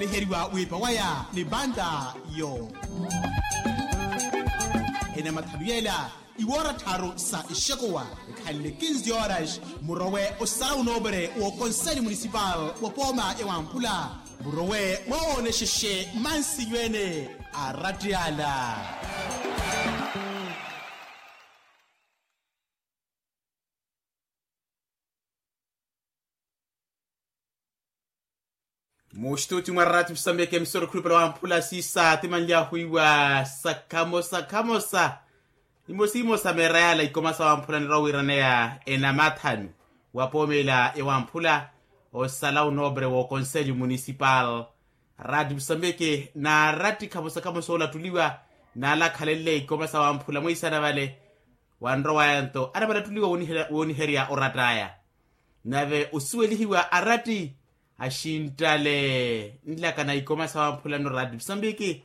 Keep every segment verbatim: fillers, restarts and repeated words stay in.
eheriwa wiipa waya ni banda yo. Ene mathanu yela iwoora tharu sa ixekuwa ekhanle kinzi horas. Murowe osala unoopere w'okonseli munisipal wa pooma ya wamphula. Murowe mwawoonexexe mansiyo ene a ratiyala. Muxituti mwa rati musambeke emisoro khulupela wamphula siisa timanly'ahu iwa sakhamosa khamosa. Imosimosa meera yala ikoma sa wamphula nirwa wiiraneya enamathanu wa poomela ya wamphula osala unoopere w'okonselyo munisipal. Rati musambeke na rati khamosa khamosa oolatuliwa naalakhalenle ikoma sa wamphula mweisana vale. Wanrowaya nto anavalatuliwa wooniherya oratt'aya. Nave osuwelihiwa aratti axinttale nlakana ikoma sa wamphulano rati musambiki.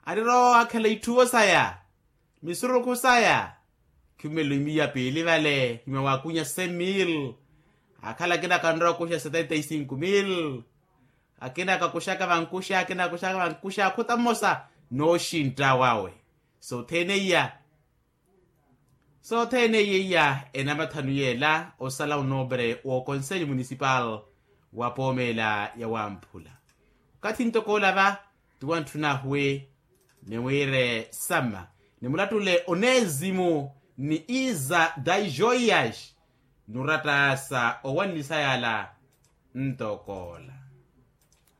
Aniroowa akhela itthuwo saya misurukhu saya. Khimelo imiya piili vale khimya wakunya semil. Akhala akina kanrowa kuxa setenta y cinco mil. Akina kakuxaka vankuxa akina akuxaka vankuxa akhuta mmosa. Nooxintta wawe sothene iya. Sothene iya iya enamathanu yela osala onoopere w'okonselyo munisipal wa poomela ya wamphula. Okathi ntoko ola va ti wantthuna ahuwe. Niwire sama nimulattule onezimu ni iza daijoias. Nurattaasa owanlisa yala ntoko ola.